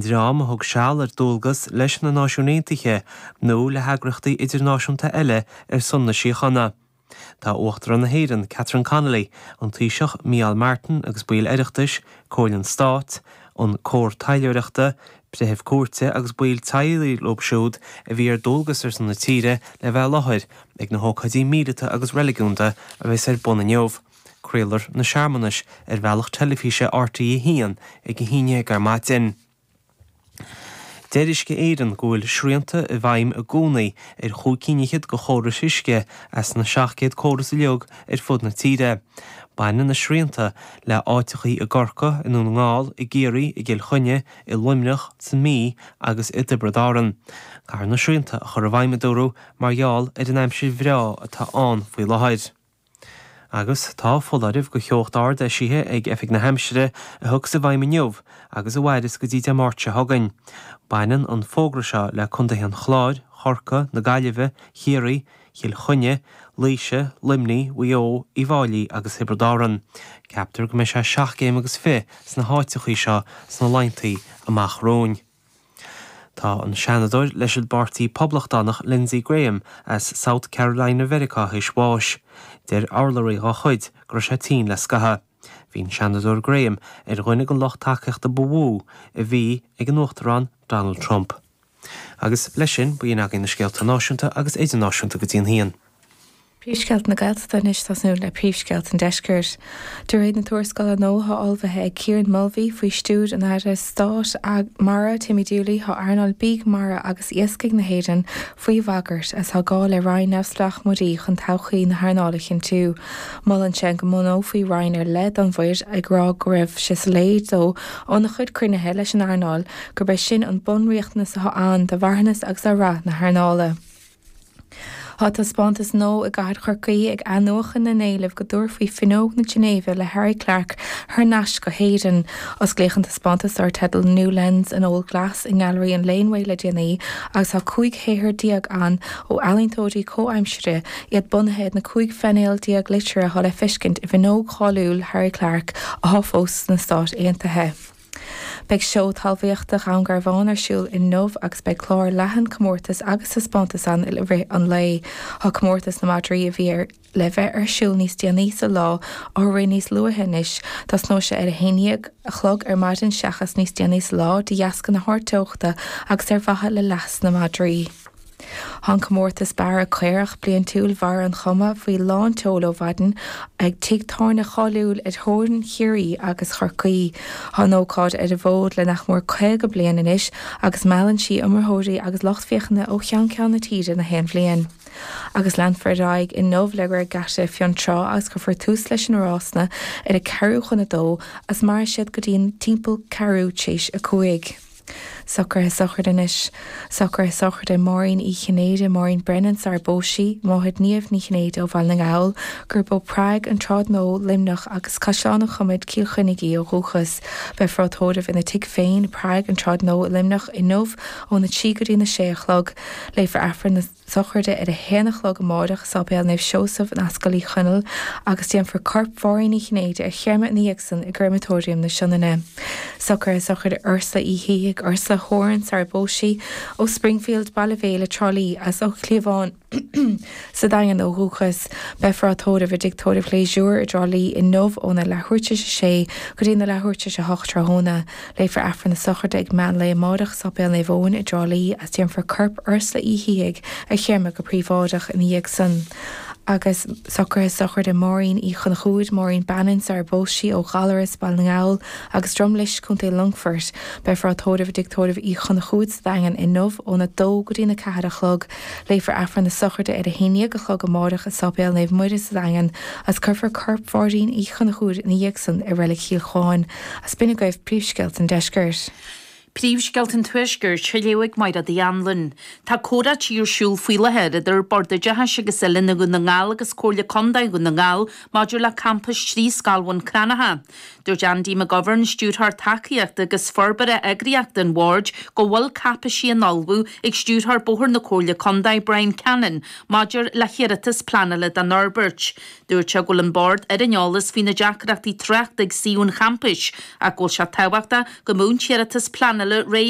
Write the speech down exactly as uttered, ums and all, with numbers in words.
dream a thug seal ar dualgas leis na Náisiúin Aontaithe nó le heagraíochtaí idirnáisiúnta eile ar son na síochána. Tá Uachtarán na hÉireann Catherine Connolly, an Taoiseach Micheál Martin agus baill Oireachtais, Comhairle an Stáit, an Cór Taidhleoireachta, Breithimh Cúirte agus baill teaghlaigh leo siúd a bhí ar dualgas ar son na tíre le bheith i láthair ag na hócáidí míleata agus reiligiúnda a bheas ar bun inniu. Craolfar na searmanais ar bhealach teilifíse RTÉ a haon ag a haon déag ar maidin. Deir Uisce Éireann go bhfuil srianta i bhfeidhm i gcónaí ar chúig cinn fhichead de chórais uisce as na seacht gcéad córas uilig ar fud na tíre. Baineann na srianta le háiteachaí i gCorcaigh, i nDún na nGall, i gCiarraí, i gCill Chainnigh, i Luimneach, sa Mhí agus i dTiobraid Árann. Caithfear na srianta a chur i bhfeidhm a dúradh mar gheall ar an aimsir bhreá atá ann faoi láthair. Agus tá foláireamh de theocht ard eisithe ag Oifig na hAimsire a thiocfas i bhfeidhm inniu agus a mhairfeas go dtí Dé Máirt seo chugainn. Baineann an fógra seo le Contaetha an Chláir, Chorcaí, na Gaillimhe, Chiarraí, Chill Chainnigh, Laoise, Luimnigh, Mhaigh Eo, Uíbh Fhailí agus Thiobraid Árann. Ceaptar go mbeidh sé seacht gcéim agus fiche sna háiteachaí seo sna laethanta amach romhainn. Tá an Seanadóir leis an bPáirtí Poblachtánach Lindsey Graham as South Carolina Mheiriceá théis bháis. Deir urlabhraí dá chuid go raibh sé tinn le scaitheamh. Bhí an Seanadóir Graham ar dhuine den lucht tacaíochta ba mhó a bhí ag an Uachtarán Donald Trump. Agus leis sin b'in againn na scéalta náisiúnta agus idirnáisiúnta go dtí an haon. Príomhscéalta na Gaeltachta anois tosnú le príomhscéalta an deiscirt. De réir na tuarascála nua atá ullmhaithe ag Kieran Mulvey faoi stiúir an Aire Stáit Mara Timmy Dooley tá earnáil bídh mara agus iascaigh na hÉireann faoi bhagairt is tá gá le roinn neamhspleách muirí chun todhchaí na hearnála a chinntiú. Molann sé go mbunófaí roinn ar leith don mhuir ag rá go raibh sé soiléir dó óna chuid cruinnithe leis an earnáil gurb é sin an bunriachtanas atá ann do mharthanas agus do rath na hearnála. Tá taispeántas nua i gcathair Chorcaí ag athnuachan na n-éileamh go dtabharfaí Fuinneog na Ginéive le Harry Clarke thar n-ais go hÉirinn. Osclaíodh an taispeántas dar teideal New Lens an Old Glass i nGailearaí an Laneway le déanaí agus tá cúig shaothar déag ann ó ealaíontóirí comhaimseartha iad bunaithe ar na cúig phainéal déag liteartha atá le feiscint i bhfuinneog cháiliúil Harry Clarke atá fós sna Stáit Aontaithe. Beidh seó talmhaíochta Dhún Garbhán ar siúl inniu agus beidh clár leathan comórtas agus taispeántas ann i rith an lae. Tá comórtas na madraí a bhí ar le bheith ar siúl níos déanaí sa lá á rith níos luaithe anois, tosnóidh sé ar a haon déag a chlog ar maidin seachas níos déanaí sa lá de dheasca na hardteochta agus ar mhaithe le leas na madraí. Tá an comórtas bearradh caorach bliantúil Bharra an Choma faoi lán tseoil ó mhaidin ag tigh tábhairne cháiliúil ar theorainn Chiarraí agus Chorcaí. Tá an ócáid ar an bhfód le nach mór caoga bliain anois agus meallann sí iomaitheoirí agus lucht féachana ó cheann ceann na tíre na haon bhliain. Agus leanfar ar aghaidh inniu le Regatta Fionntrá agus cuirfear tús leis na rásanna ar a ceathrú chun a dó agus mairfidh siad go dtí timpeall ceathrú tar éis a cúig. Socruithe sochraide anois. Socruithe sochraide Máirín Uí Chinnéide, Máirín Brennan sar phós sí, máthair Niamh Ní Chinnéide ó Bhaile na nGall, gurb ó Prague an Tsráid Nua, Luimneach agus Caisleán an Chomaid Cill Chainnigh í ó dhúchas. Beifear á tórramh ina tigh féin, Prague an Tsráid Nua, Luimneach inniu óna trí go dtí na sé a chlog. Léifear Aifreann na sochraide ar a haon a chlog amárach i Séipéal Naomh Seosamh in Ascaill Uí Chonaill agus déanfar corp Mháirín Uí Chinnéide a chreimeadh ina dhiaidh san i gcreimeatóiriam na Sionainne. Socruithe sochraide Ursula Uí Shíthigh Ursula Horan sar phós sí ó Springfield Baile Bhéile Trá Lí as ó Chliabhán sa Daingean ó dhúchas beifear á tórramh i dtigh tórraimh Léisúr i dTrá Lí inniu óna leathuair tar éis a sé go dtí na leathuair tar éis a hocht tráthnóna. Léifear Aifreann na sochraide ag meán lae amárach i Séipéal Naomh Eoin i dTrá Lí as déanfar corp Ursula Uí Shíthigh a chreimeadh go príobháideach ina dhiaidh san. agus socruithe sochraide Máirín Uí Chonchúir Máirín Bannon sar phós sí ó Ghallaras Baile na nGall agus Drumlish Contae Longfoirt beifear á tórramh i dtigh tórraimh Uí Chonchúir sa Daingean inniu óna dó go dtí na ceathair a chlog léifear Aifreann na sochraide ar a haon déag a chlog amárach i Séipéal Naomh Muire sa Daingean as cuirfear corp Mháirín Uí Chonchúir ina dhiaidh san i Reilig Chill Chuáin as b'in agaibh príomhscéalta an deiscirt. Príomhscéalta an Tuaiscirt á léamh ag Máire Uí Anluain. Tá comhráití ar siúl faoi láthair idir Bord Oideachais agus Oiliúna Dhún na nGall agus Comhairle Contae Dhún na nGall maidir le campas trí scoil Bhun Cranncha. Dúirt Andy McGovern, stiúrthóir tacaíochta agus forbartha eagraíochta an bhoird go bhfuil cáipéisí á n-ullmhú ag stiúrthóir bóthair na Comhairle Contae Brian Cannon maidir le hiarratas pleanála don fhorbairt. Dúirt sé go bhfuil an bord ar an eolas faoi na deacrachtaí tráchta ag suíomh an champais ach go bhfuil sé tábhachtach go mbeadh an t-iarratas pleanála réidh